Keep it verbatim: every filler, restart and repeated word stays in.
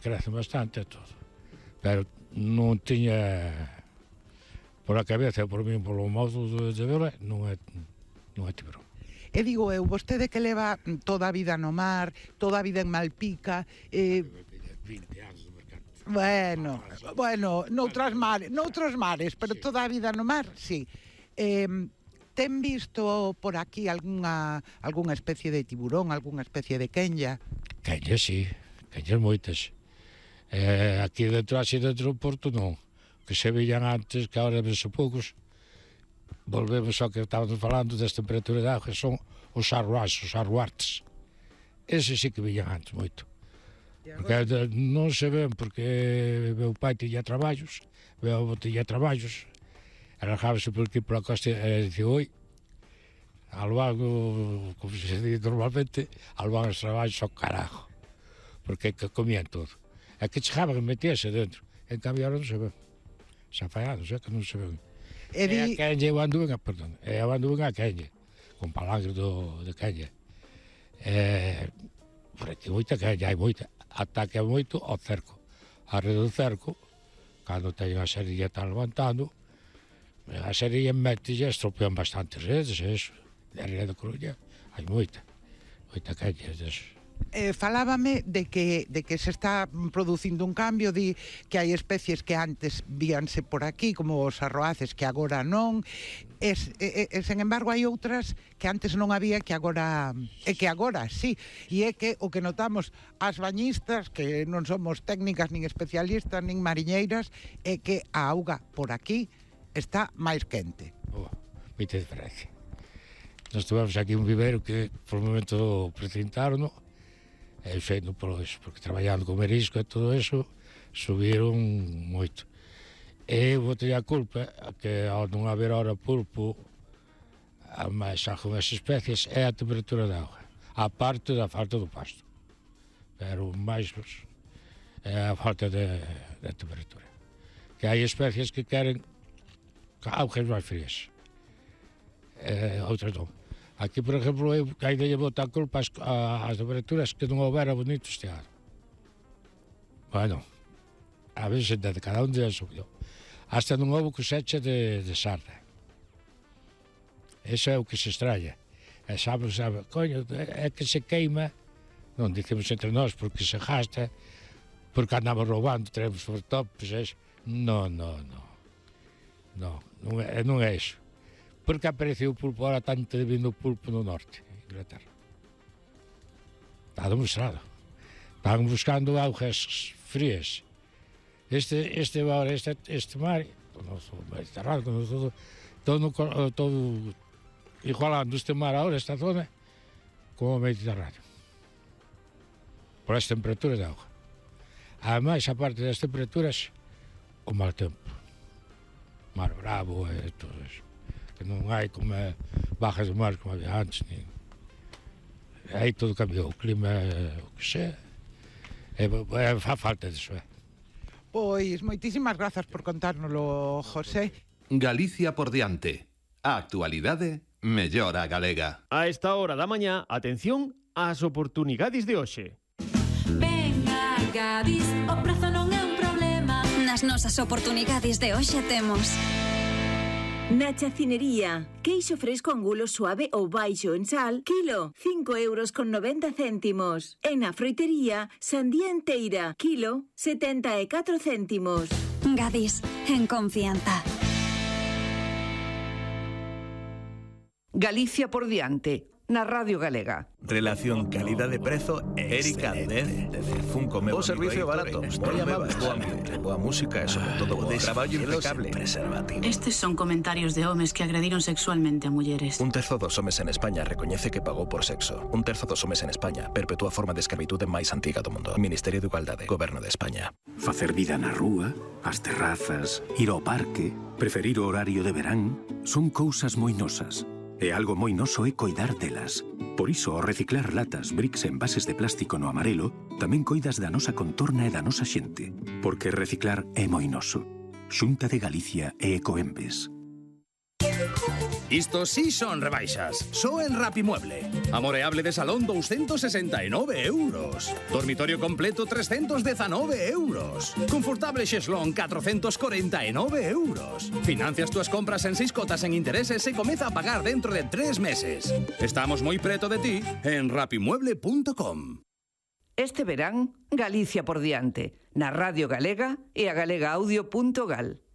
crecen bastante e todo. Pero non tiña por a cabeza, por mí, polo modo de ver, non é, non é tiburón. E digo eu, vostede que leva toda a vida no mar, toda a vida en Malpica, eh... vinte anos no mercado. Bueno, bueno, noutros mares, noutros mares, pero toda a vida no mar, sí. Eh, ten visto por aquí algunha algunha especie de tiburón, algunha especie de quenya? Quenya, sí, quenyas moitas. Eh, aquí dentro, así dentro do porto, non. Que se veían antes, que agora vense poucos. Volvemos ao que estábamos falando das temperaturas de auga, son os arruás, os arruartes. Ese sí que veían antes moito. Porque non se ven, porque meu pai tiña traballos, meu avó tiña traballos, arranjábase por aquí pola costa e dicía, oi, algo, como se dice normalmente, algo os traballos ao carajo, porque que comían todo. É que chegaban e metíase dentro. En cambio, ahora non se ven. Xa fai anos, é que non se ven. E, di... e a quenya, eu anduve, perdón, eu anduve a quenya, con palangre do, de quenya. E, por aquí moita quenya, hai moita. Ataque moito ao cerco. A rede do cerco, cando teñen a serilla tan levantando, a serilla mete e estropean bastantes redes, eso. De Ría da Coruña, hai moita. Moita quenya deso. Eh, falábame de que, de que se está producindo un cambio, di que hai especies que antes víanse por aquí, como os arroaces, que agora non, es, e, e, sen embargo hai outras que antes non había, que agora, e que agora, sí, e é que o que notamos as bañistas, que non somos técnicas, nin especialistas, nin mariñeiras, é que a auga por aquí está máis quente. Oh, moita diferencia. Nós tivemos aquí un vivero que, por un momento, precintaron, no? E feito por eso, porque traballando con marisco e todo eso, subiron moito. E eu botei a culpa que ao non haber ahora pulpo, a máis algunhas especies, é a temperatura da auga, a parte da falta do pasto. Pero máis é a falta de, de temperatura. Que hai especies que queren augas máis frías, e outras non. Aquí, por exemplo, eu ainda lle boto a culpa ás temperaturas que non houbera bonito este ano. Bueno, a veces de cada un día subiu. Hasta non houve cosecha de, de sarda. Eso é o que se estralla. E sabe, sabe, coño, é que se queima, non dicemos entre nós, porque se gasta, porque andamos roubando, traemos sobretopes, eso. Non, non, non. Non, non é, non é iso. Porque apareceu o pulpo, ahora tanto vindo o pulpo no norte, en Inglaterra. Está demostrado. Están buscando augas frías. Este, este, este, este mar, o noso Mediterráneo, todo, todo, todo igualando este mar ahora, esta zona, como o Mediterráneo. Por as temperaturas de auga. Ademais, a parte das temperaturas, o mal tempo. Mar bravo e todo eso. Que non hai como bajas de mar como había antes, nin... aí todo cambiou, o clima, o que sea, e, e fa falta disso, é. Pois, moitísimas grazas por contárnoslo, José. Galicia por diante. A actualidade mellor a galega. A esta hora da mañá, atención ás oportunidades de hoxe. Venga, Gadis, o prezo non é un problema. Nas nosas oportunidades de hoxe temos... Na chacinería, queixo fresco angulo suave ou baixo en sal, kilo, cinco euros con noventa céntimos. E na froitería, sandía enteira, kilo, setenta e catro céntimos. Gadis, en confianza. Galicia por diante, na Radio Galega. Relación calidade-prezo Erika Dez Funko meu. O servicio barato, moi amable, boa, boa música e sobre todo bo traballo impecable. Estes son comentarios de homes que agrediron sexualmente a mulleres. Un terzo dos homes en España recoñece que pagou por sexo. Un terzo dos homes en España perpetúa a forma de escravitude máis antiga do mundo. Ministerio de Igualdade, Goberno de España. Facer vida na rúa, as terrazas, ir ao parque, preferir o horario de verán, son cousas moi nosas. E algo moi noso é coidar delas. Por iso, ao reciclar latas, bricks e envases de plástico no amarelo, tamén coidas da nosa contorna e da nosa xente. Porque reciclar é moi noso. Xunta de Galicia e Ecoembes. Isto sí son rebaixas. Só en Rapimueble. Amoreable de salón doscientos sesenta e nove euros. Dormitorio completo trescientos diecinueve euros. Confortable xeslón cuatrocientos cuarenta e nove euros. Financias túas compras en seis cotas en intereses e comeza a pagar dentro de tres meses. Estamos moi preto de ti en rapimueble punto com. Este verán, Galicia por diante, na Radio Galega e a galega audio punto gal.